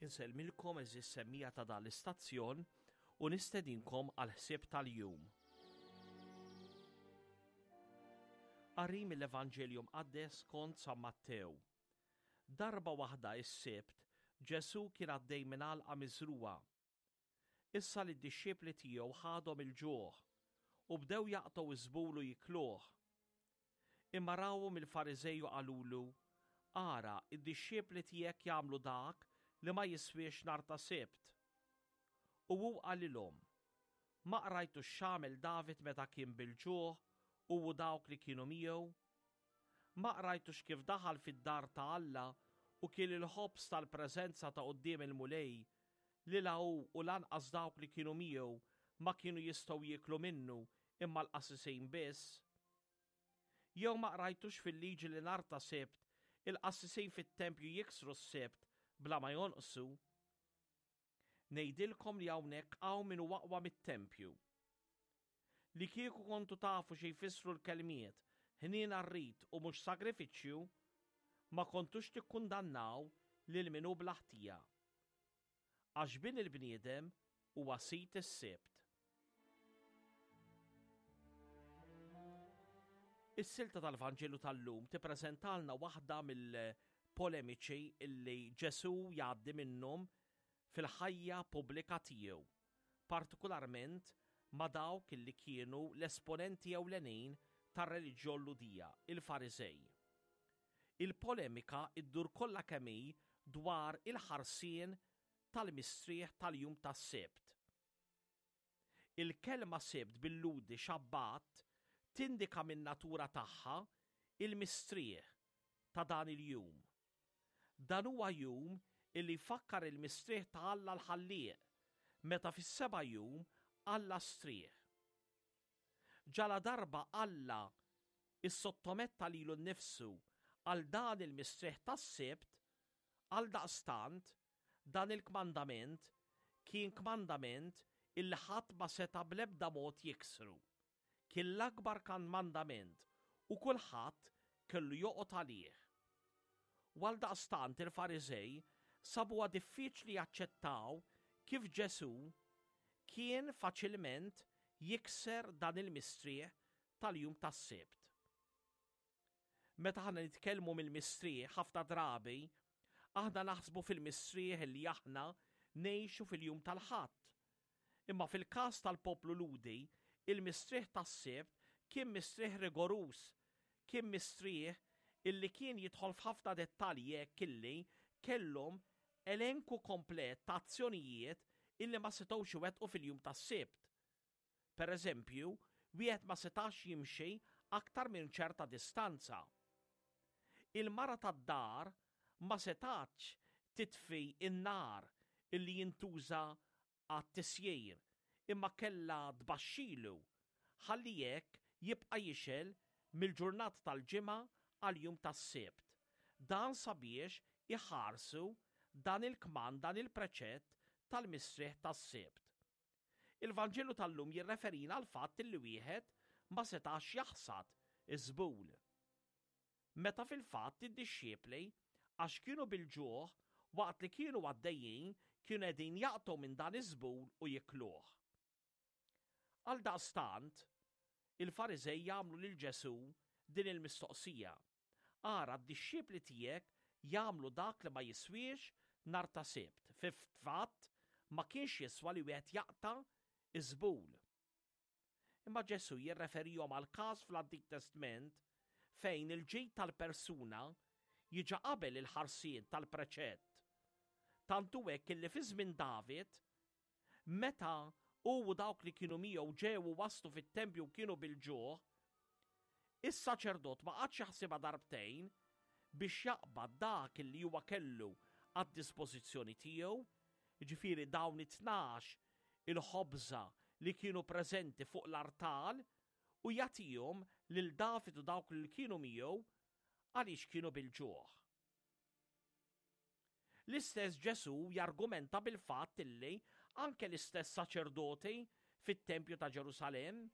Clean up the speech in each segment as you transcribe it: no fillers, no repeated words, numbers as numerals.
Insellmilkom għeżież semmiegħa ta' dan l-istazzjon u nistedinkom għall-ħsieb tal-jum. Qari mill-Evanġelju Mqaddes skont San Mattew. Darba waħda is-Sibt, Ġesù kien għaddej minn għalqa miżrugħa. Issa lid-dixxipli tiegħu ħadhom il-ġuħ u bdew jaqtgħu ż-żbul u jikluh. Imma rawhom il-Fariżej u qalulu, Ara, id-dixxipli tiegħek jagħmlu dak li ma jiswiex nhar ta' Sibt. U hu qalilhom, Ma qrajtux x'għamel David meta kien bil-ġuħ, hu u dawk li kienu miegħu? Ma qrajtux kif daħal fid-dar ta' Alla u kiel il-ħobż tal-preżenza ta' quddiem il-Mulej, li la hu u lanqas dawk li kienu miegħu ma kienu jistgħu jieklu minnu imma l-qassisin biss? Jew ma qrajtux fil-Liġi li nhar ta' Sibt il-qassisin fit-tempju jiksru s-Sibt bla ma jonqsu? Ngħidilkom li hawnhekk hawn min hu aqwa mit-tempju. Li kieku kontu tafu xi jfissru l-kelmiet ħniena rrid u mhux sagrifiċċju, ma kontux tikkundannaw lil min hu bla ħtija. Għax Bin il-bniedem huwa Sid is-Sibt. Is-silta tal-Vanġelu tal-lum tippreżentalna waħda mill-polemiċi illi Ġesù jgħaddi minnhom fil-ħajja pubblika tiegħu, partikularment ma' dawk illi kienu l-esponenti ewlenin tar-reliġjon Lhudija, il-Fariżej. Il-polemika ddur kollha kemm hi dwar il-ħarsien tal-mistrieħ tal-jum tas-Sibt. Il-kelma Sibt bil-Lhudi Shabbat tindika min-natura tagħha il-mistrieħ ta' dan il-jum. Dan huwa jum illi jfakkar il-mistrieħ ta' Alla l-Ħallieq, meta fis-seba' jum Alla strieħ. Ġaladarba Alla issottometta lilu nnifsu għal dan il-mistrieħ tas-Sibt, għaldaqstant, dan il-kmandament kien kmandament illi ħadd ma seta' bl-ebda mod jiksru. Kien l-akbar kmandament u kulħadd kellu joqgħod għalih. U għaldaqstant il-Fariżej sabuha diffiċli jaċċettaw kif Ġesù kien faċilment jikser dan il-mistrieħ tal-jum tas-Sibt. Meta aħna nitkellmu mill-mistrieħ ħafna drabi, aħna naħsbu fil-mistrieħ li aħna ngħixu fil-jum tal-Ħadd. Imma fil-każ tal-poplu Lhudi, il-mistrieħ tas-Sibt kien mistrieħ rigoruż, kien mistrieħ illi kien jidħol f'ħafna dettalji hekk illi kellhom elenku komplet ta' azzjonijiet illi ma setgħux iwettqu fil-jum tas-Sibt. Per eżempju, wieħed ma setax jimxi aktar minn ċerta distanza. Il-mara tad-dar ma setgħetx titfi n-nar illi jintuża għat-tisjir imma kellha tbaxxilu ħalli hekk jibqa' jixgħel mill-ġurnata tal-Ġimgħa għall-jum tas-Sibt. Dan sabiex iħarsu dan il-kmand, dan il-preċett tal-mistrieħ tas-Sibt. Il-Vanġelu tal-lum jirreferina għall-fatt li wieħed ma setax jaħsad iż-żbul. Meta fil-fatt id-dixxipli, għax kienu bil-ġuħ, waqt li kienu għaddejjin kienu qegħdin jaqtgħu minn dan iż-żbul u jikluh. Għaldaqstant, il-Fariżej jagħmlu lil Ġesù din il-mistoqsija, Ara, d-dixxipli tiegħek jagħmlu dak li ma jiswiex nhar ta' Sibt. Fil-fatt, ma kienx jiswa li wieħed jaqta' ż-żbul. Imma Ġesù jirreferihom għal każ fl-Antik Testment fejn il-ġid tal-persuna jiġi qabel il-ħarsien tal-preċett. Tant hu hekk illi fi żmien David, meta hu u dawk li kienu miegħu ġew u waslu fit-tempju u kienu bil-ġuħ, is-saċerdot ma qagħadx jaħsibha darbtejn biex jaqbad dak li huwa kellu għad-dispożizzjoni tiegħu, jiġifieri dawn it-tnax il-ħobża li kienu preżenti fuq l-artal u jagħtihom lil David u dawk li kienu miegħu għaliex kienu bil-ġuħ. L-istess Ġesù jargumenta bil-fatt illi anke l-istess saċerdoti fit-tempju ta' Ġerusalemm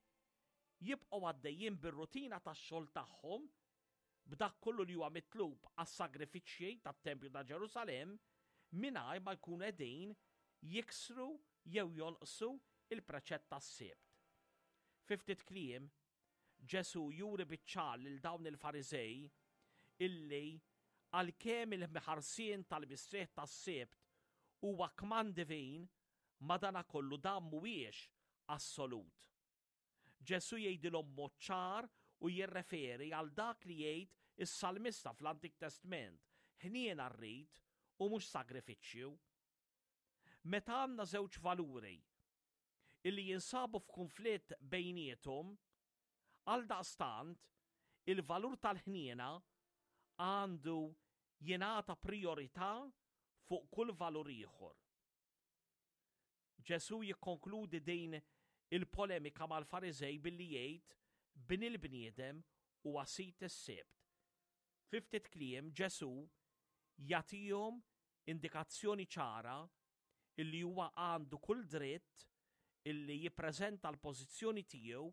jibqgħu għaddejjin bir-rutina tax-xogħol tagħhom b'dak kollu li huwa mitlub għas-sagrifiċċji tat-tempju ta' Ġerusalemm. mingħajr ma jkunu qegħdin jiksru jew jonqsu l-preċett tas-Sibt. Fi ftit kliem, Ġesù juri biċ-ċar lil dawn il-Fariżej illi għalkemm il-ħarsien tal-mistrieħ tas-Sibt huwa kmand divin, madanakollu dan mhuwiex assolut. Ġesù jgħidilhom b'mod ċar u jirreferi għal dak li jgħid is-salmista fl-Antik Testment, Ħniena rrid u mhux sagrifiċċju. Meta għandna żewġ valuri illi jinsabu f'kunflitt bejniethom, għaldaqstant il-valur tal-ħniena għandu jingħata prijorità fuq kull valur ieħor. Ġesù jikkonkludi din il-polemika mal-Fariżej billi jgħid, Bin il-bniedem huwa Sid is-Sibt. Fi ftit kliem, Ġesù jagħtihom indikazzjoni ċara illi huwa għandu kull dritt illi jippreżenta l-pożizzjoni tiegħu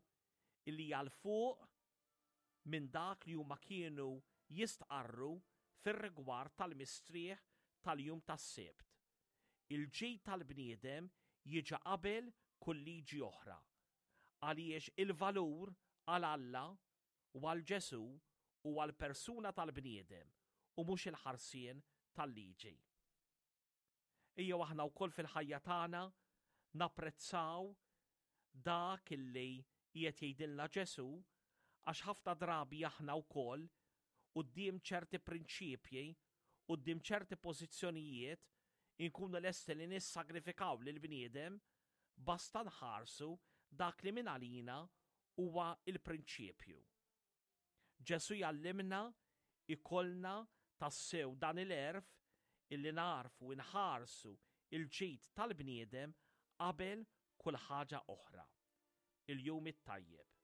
illi hija 'l fuq minn dak li huma kienu jistqarru fir-rigward tal-mistrieħ tal-jum tas-Sibt. Il-ġid tal-bniedem jiġi qabel kull liġi oħra, għaliex il-valur għal Alla u għal Ġesù huwa l-persuna tal-bniedem u mhux il-ħarsien tal-liġi. Ejjew aħna wkoll fil-ħajja tagħna napprezzaw dak illi qiegħed jgħidilna Ġesù għax ħafna drabi aħna wkoll quddiem ċerti prinċipji, quddiem ċerti pożizzjonijiet inkunu lesti li nissagrifikaw lill-bniedem basta nħarsu dak li mingħalina huwa l-prinċipju. Ġesù jgħallimna jkollna tassew dan il-għerf illi nagħrfu nħarsu l-ġid tal-bniedem qabel kull ħaġa oħra. Il-jum it-tajjeb.